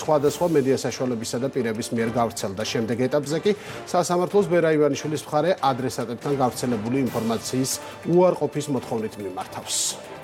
სხვადასხვა მედია საშუალებისა და პირების მიერ გავრცელდა. შემდეგ ეტაპზე კი სასამართლოს ბერა ივანიშვილის მხარე ადრესატებთან გავრცელებული ინფორმაციის უარყოფის მოთხოვნით მიმართავს.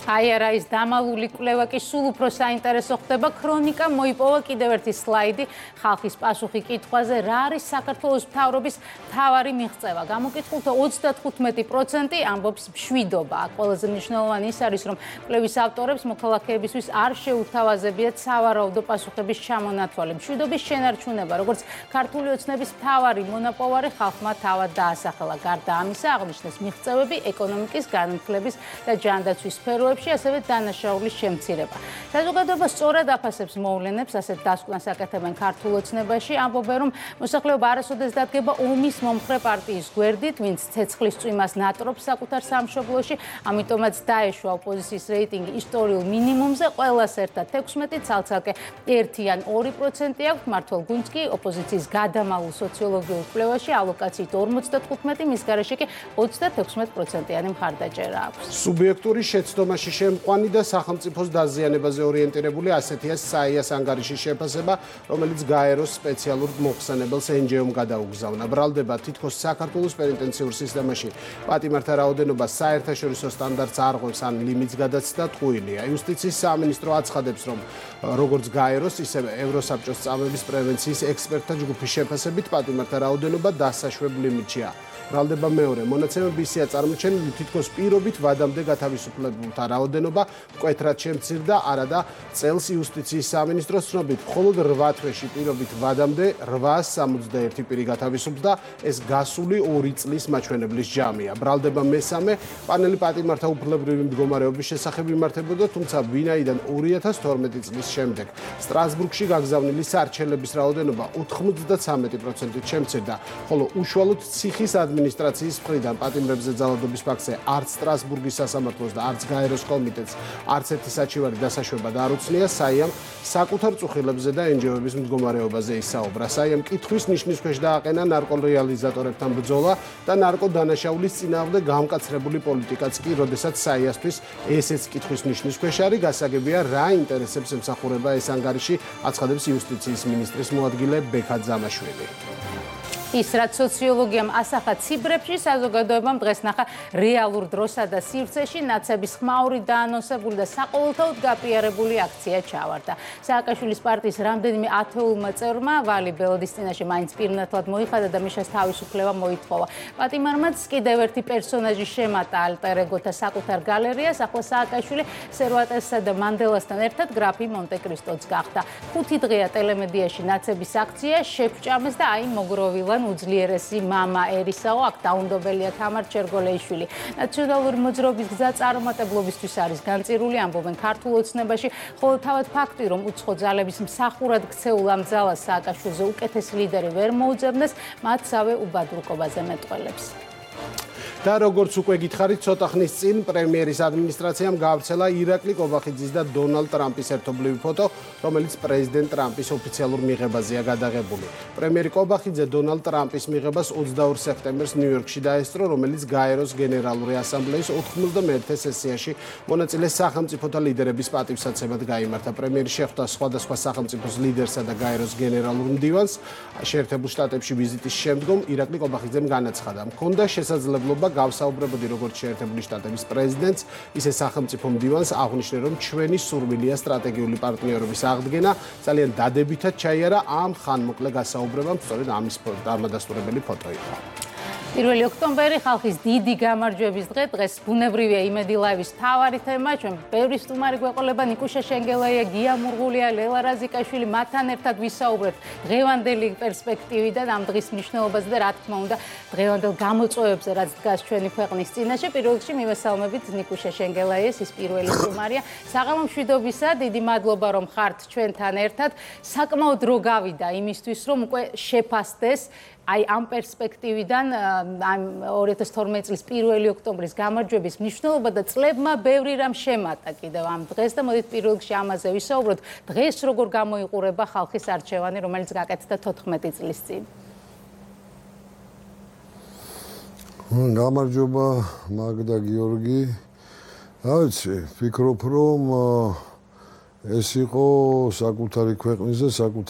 აი არა ის დამალული კვლევა კი სულ უფრო საინტერესო ხდება. ქრონიკა მოიპოვა კიდევ ერთი სლაიდი ხალხის პასუხი კითხვაზე, რა არის საქართველოს მთავრობის მთავარი მიღწევა. გამოკითხულთა 35% ამბობს მშვიდობა. ყველაზე მნიშვნელოვანი ის არის, რომ კვლევის ავტორებს მოქალაქეებისთვის არ შეუთავაზებიათ სავარაუდო პასუხების ჩამონათვალე. მშვიდობის შენარჩუნება, როგორც ქართული ოცნების მთავარი მონაპოვარი, ხალხმა თავად დაასახელა. გარდა ამისა, აღნიშნეს მიღწევები ეკონომიკის, განათლების და ჯანდაცვის სფეროებში, ასევე დანაშაულის შემცირება. საზოგადოება სწორად აფასებს მოვლენებს, ასეთ დასკვნას აკეთებენ ქართულ ოცნებაში. ამბობენ, რომ მოსახლეობა არასოდეს დადგება ომის მომხრე პარტიის გვერდით, ვინც ცეცხლის წვიმას ნატრობს საკუთარ სამშობლოში, ამიტომაც დაეშვა ოპოზიციის რეიტინგი ისტორიულ მინიმუმზე. ყველას ერთად 16, ცალ-ცალკე 1 ან 2% აქვს. მართლ გუნდს კი ოპოზიციის გადამალულ სოციოლოგიურ კვლევაში ალოკაციით 55, მის გარეშე კი 36%-იანი მხარდაჭერა აქვს. სუბიექტური შეცდომაში შემყვანი და სახელმწიფოს დაზიანებაზე ორიენტირებული ასეთია საიას ანგარიშის შეფასება, რომელიც გაეროს სპეციალურ მოხსენებელს NGO-მ გადაუგზავნა. ბრალდება თითქოს საქართველოს პენიტენციურ სისტემაში პატიმართა რაოდენობა საერთაშორისო სტანდარტს არღვევს ან ლიმიტს გადაცდა ტყუილია. იუსტიციის სამინისტრო აცხადებს, რომ როგორც გაეროს, ისევე ევროსაბჭოს წამების პრევენციის ექსპერტთა ჯგუფის შეფასებით პატიმართა რაოდენობა დასაშვებ ლიმიტშია. ბრალდება მეორე მონაცემები ისეა წარმოჩენილი, თითქოს პირობით ვადამდე გათავისუფლებულთა რაოდენობა მკვეთრად შემცირდა, არადა წელს იუსტიციის სამინისტროს ცნობით მხოლოდ 8 თვეში პირობით ვადამდე 861 პირი გათავისუფლდა, ეს გასული 2 წლის მაჩვენებლის ჯამია. ბრალდება მესამე პანელი პატიმართა უფლებრივი მდგომარეობის შესახებ იმართებოდა, თუმცა ვინაიდან 2012 წლის შემდეგ სტრასბურგში გაგზავნილი სარჩელების რაოდენობა 93%-ით შემცირდა, ხოლო უშუალოდ ციხის ადმინისტრაციის მხრიდან პატიმრებზე ძალადობის ფაქტზე არც სტრასბურგის სასამართლოს და არც გაეროს კომიტეტს არც ერთი საჩივარი დასაშვება არ უცნია. საიამ საკუთარ წუხილებზე და NGO-ების მდგომარეობაზე ისაუბრა. საიამ კითხვის ნიშნის ქვეშ დააყენა ნარკორეალიზატორებთან ბრძოლა და ნარკოდანაშაულის წინააღმდეგ გამკაცრებული პოლიტიკაც კი, როდესაც საიასთვის ესეც კითხვის ნიშნის ქვეშ არის. გასაგებია, რა ინტერესებს ემსახურება ეს ანგარიში, აცხადებს იუსტიციის მინისტრის მოადგილე ბექა ძამაშვილი. ის რაც სოციოლოგიამ ასახა ციფრებში, საზოგადოებამ დღეს ნახა რეალურ დროსა და სივრცეში ნაცების ხმაური დაანონსებული და საყოველთაოდ გაპიარებული აქცია ჩავარდა. სააკაშვილის პარტიის რამდენიმე ათეულმა წევრმა ვალი ბელოდის წინაშე მაინც პირნათლად მოიხადა და მიშას თავისუფლება მოითხოვა. პატიმარმაც კიდევ ერთი პერსონაჟი შემატა ალტერ-ეგოთა საკუთარ გალერეას. ახლა სააკაშვილი სერვატესსა და მანდელასთან ერთად გრაფი მონტე-კრისტოც გახდა. 5 დღეა ტელემედიაში ნაცების აქცია შეგვჭამეს და აი მოგროვილა უძლიერესი მამა ერისაო, აქ დაუნდობელია თამარ ჩერგოლეიშვილი. ნაციონალური მოძრაობის გზა წარუმატებლობისთვის არის განწირული, ამბობენ ქართულ ოცნებაში, ხოლო თავად ფაქტი, რომ უცხო ძალების მსახურად ქცეულ ამ ძალას სააკაშვილზე უკეთესი ლიდერი ვერ მოუძებნეს, მათსავე უბადურკობაზე მეტყველებს. და როგორც უკვე გითხარით, ცოტა ხნის წინ პრემიერის ადმინისტრაციამ გაავრცელა ირაკლი კობახიძის და დონალდ ტრამპის ერთობლივი ფოტო, რომელიც პრეზიდენტ ტრამპის ოფიციალურ მიღებაზეა გადაღებული. პრემიერი კობახიძე დონალდ ტრამპის მიღებას 22 სექტემბერს ნიუ-იორკში დაესწრო, რომელიც გაეროს გენერალური ასამბლეის 91 სესიაში მონაწილე სახელმწიფოთა ლიდერების პატივსაცემად გაიმართა. პრემიერი შეხვდა სხვადასხვა სახელმწიფოს ლიდერსა და გაეროს გენერალურ მდივანს. შეერთებულ შტატებში ვიზიტის შემდგომ ირაკლი კობახიძემ განაცხადა, მქონდა შესაძლებლობა გავსაუბრებოდი როგორც შეერთებული შტატების პრეზიდენტს, ისე სახელმწიფო მდივანს, აღნიშნე, რომ ჩვენი სურვილია სტრატეგიული პარტნიორობის აღდგენა. ძალიან დადებითად ჩაიარა ამ ხანმოკლე გასაუბრებამ, სწორედ ამის დამადასტურებელი ფოტო იყო. 1 ოქტომბერი ხალხის დიდი გამარჯვების დღე, დღეს ბუნებრივია იმედი ლაივის მთავარი თემა, ჩვენ ბევრი სტუმარი გვეყოლება, ნიკუშა შენგელაია, გია მურღულია, ლელა რაზიკაშვილი, მათთან ერთად ვისაუბრებთ დღევანდელი პერსპექტივიდან ამ დღის მნიშვნელობაზე და რა თქმა უნდა დღევანდელ გამოწვევებზე, რაც დგას ჩვენი ქვეყნის წინაშე. პირველ რიგში მივესალმებით ნიკუშა შენგელაიას, ის პირველი სტუმარია. საღამო მშვიდობისა, დიდი მადლობა რომ ხართ ჩვენთან ერთად. საკმაოდ დრო გავიდა იმისთვის, რომ უკვე შეფასდეს აი ამ პერსპექტივიდან ამ 2012 წლის 1 ოქტომბრის გამარჯვების მნიშვნელობა და წლებმა ბევრი რამ შემატა კიდევ ამ დღეს და მოდით პირველ რიგში ამაზე ვისაუბროთ. დღეს როგორ გამოიყურება ხალხის არჩევანი, რომელიც გაკეთდა 14 წლის წინ? გამარჯობა მაგდა გიორგი. რა ვიცი, ფიქრობ რომ ეს იყო საკუთარი ქვეყნის და საკუთარი